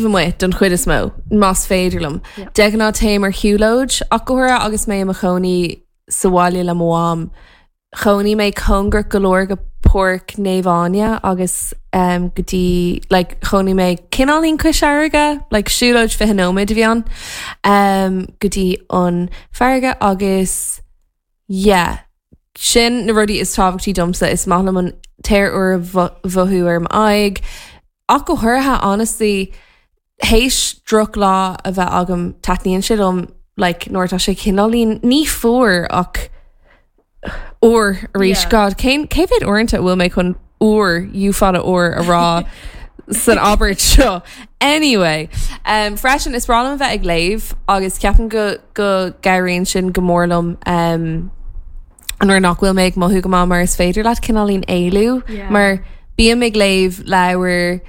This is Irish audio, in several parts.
Amuigh don chuid is mó, más féidir liom. De ghnáth téim ar shiúlóid, ach go háirithe agus mé i mo chónaí sa bhaile le mo mham. Chónaigh mé cóngarach go leor go Páirc Naomh Áine agus go dtí, like, chónaigh mé cineáilín cois fharraige, like, siúlóid 20 nóiméad a bhí ann, go dtí an farraige agus yeah, sin na rudaí is tábhachtaí domsa, is maith liom an t-aer úr a mhothú ar m'aghaidh, Ach go háirithe, honestly, théis drochlá a bheith agam, taitníonn sé liom, like, nuair atá sé cineáilín, ní fuar ach úr arís. Yeah. God, cén, cé mhéad uaireanta a bhfuil mé chun úr, U fada R a rá san abairt seo? Anyway, um, freisin, is breá liom a bheith ag léamh agus ceapaim go, go gcabhraíonn sin go mór liom, um, nuair nach bhfuil mé ag mothú go maith mar is féidir leat cineáilín éalú mar bím ag léamh leabhar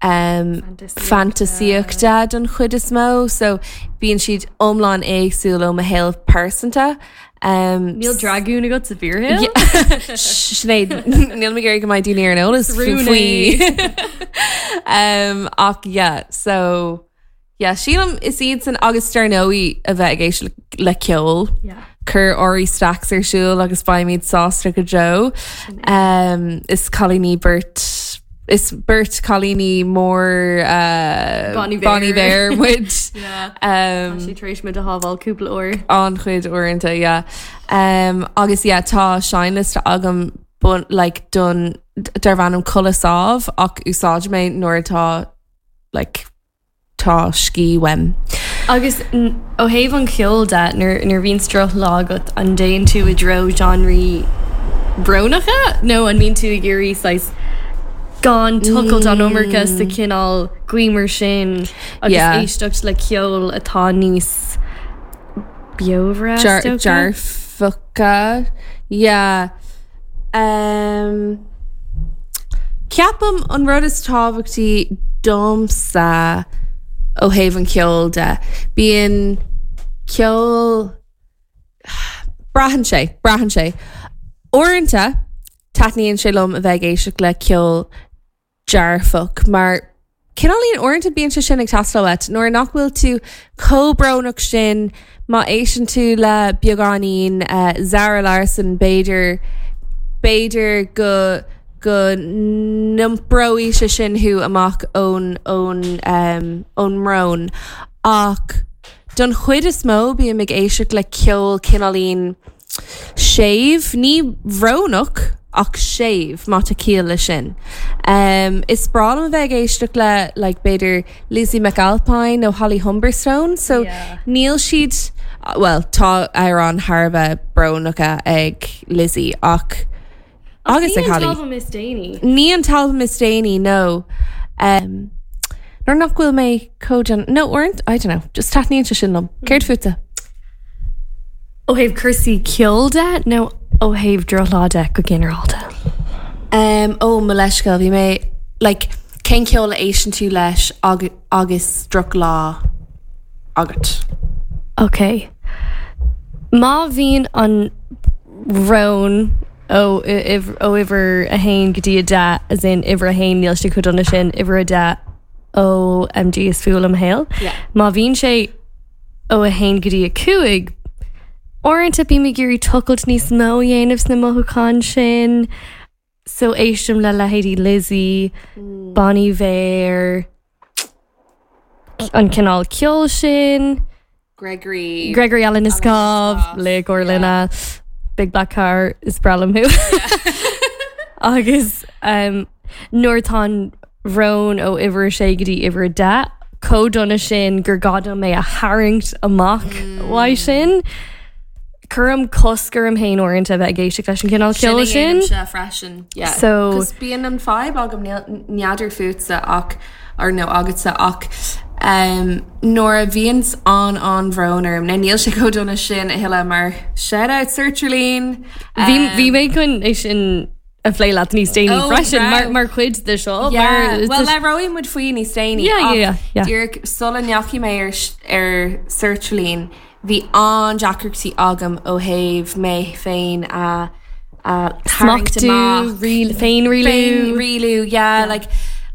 um, fantaisíochta don chuid is mó so bíonn siad iomlán éagsúil ó mo shaol pearsanta. Um, Níl dragún agat sa bhfíorshaol? Sinéad, níl mé ag iarraidh go mbeidh daoine ar an eolas faoi. um, ach yeah, so Yeah, sílim is iad san agus dar ndóigh a bheith ag éisteacht le ceol. Yeah. Cuir Ari Stacks ar siúl agus beimid sásta go deo. Um, is cailíní beirt is beirt cailíní mór uh, Bon Iver. Bon Iver muid. Yeah. Um, Tá sé tar éis muid a shábháil cúpla uair. an-chuid uaireanta, yeah. Um, agus yeah, tá seinnliosta agam bun, like, don darb ainm Codladh Sámh ach úsáidim é nuair atá like, tá scíth uaim. Agus ó thaobh an cheoil de, nuair a bhíonns drochlá agat, an dtéann tú i dtreo genreí brónacha nó an mbíonn tú ag iarraidh saghas gan tochailt an iomarca sa chineál gaothmhar sin agus éisteacht le ceol atá níos beomhaire, is dócha? Dearfacha, yeah. Um, ceapaim an rud is tábhachtaí domsa ó thaobh an cheoil de, bíonn ceol, braitheann sé, braitheann sé. Uaireanta, taitníonn sé liom a bheith ag éisteacht le ceol dearfach mar cineáilín uaireanta bíonn sé sin ag teastáil uait nuair nach bhfuil tú chomh brónach sin má éisteann tú le beagáinín Zara Larsson b'fhéidir b'fhéidir go go n-iompróidh sé sin thú amach ón ón ón mbrón ach don chuid is mó bím ag éisteacht le ceol cineáilín Séimh, ní bhrónach ach séimh, má tá ciall leis sin. Is breá liom a bheith ag éisteacht le like b'fhéidir Lizzie McAlpine nó Holly Humberstone so níl siad, bhuel tá amhráin thar a bheith brónacha ag Lizzie ach agus ag Holly. Ní an t-albam is déanaí. Ní an t-albam is déanaí, no. Nuair nach bhfuil mé chomh dona, no, uaireanta, I don't know, just taitníonn sé sin liom. Céard fútsa? Ó thaobh cúrsaí ceoil de nó ó thaobh drochlá de go ginearálta? Um, ó, mo leithscéal, bhí mé, like, cén ceol a éisteann tú leis agus drochlá agat? Ok. Má bhíonn an brón ó ó uimhir a haon go dtí a deich, as in uimhir a haon níl sé chomh dona sin, uimhir a deich OMG is fuath liom mo shaol. Má bhíonn sé ó 1 go dtí 5, uaireanta bím ag iarraidh tochailt níos mó a dhéanamh sna mothúcháin sin, so éistim le leithéidí Lizzie, Bon Iver, an cineál ceoil sin. Gregory. Gregory Alan Iscove, laoch ár linne, Big Black Car, is breá liom thú. Agus um, nuair atá an bhrón ó uimhir a sé go dtí uimhir a deich, chomh dona sin gur gá dom é a tharraingt amach uaidh sin. Cuirim cosc orm féin uaireanta a bheith ag éisteacht leis an gcineál ceoil sin. Sin a dhéanaimse freisin. Yeah. So. 'Cause bíonn an fadhb agam, n'fheadar fútsa ach, or nó agatsa ach um, nuair a bhíonns an-an-bhrón orm, now níl sé chomh dona sin a thuilleadh mar shout out sertraline. Bhí bhí mé chun é sin a phlé leat níos déanaí Oh, freisin mar, raibh. mar chuid de seo. Yeah, mar, well labhróidh muid faoi níos déanaí Yeah, yeah, ach yeah, yeah. díreach sula ndeachaigh mé ar, ar sertraline bhí an-deacrachtaí agam ó thaobh mé féin a a tharraingt Smachtú, amach. rial- féinrialú. Féinrialú, yeah, like,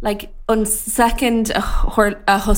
like an second a, a thosnaigh.